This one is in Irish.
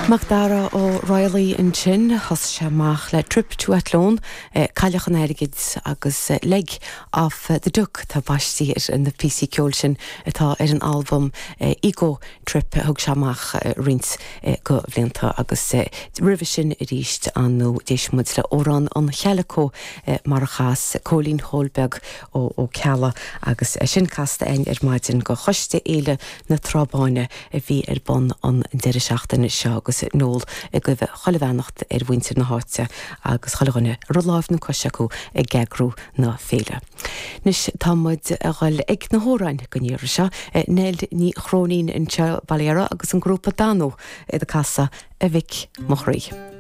Macdara Ó Raghallaigh ansin, thosaigh sé amach le Trip to Athlone, Cailleach an Airgid agus Leg of the Duck atá baistí ar na píosaí ceoil sin atá ar an albam Ego Trip a thug sé amach roinnt de bhlianta agus roimhe sin arís ar ndóigh d'éist muid le Amhrán an Chaileacó mar a chas Cóilín Chóil Beag Ó Ceallaigh agus é sin casta againn ar maidin go Choiste Fhéile na Trá Báine a bhí ar bun an deireadh seachtaine seo agus Noel ag guibhe chuile bheannacht ar mhuintir na háite agus chuile dhuine a raibh láimh nó cois acu ag eagrú na féile. Anois tá muid a dhul ag na hamhráin don iarraidh seo. Nell Ní Chróinín anseo, Baile Dara agus an grúpa Danú ag casadh A Mhic Mo Chroí.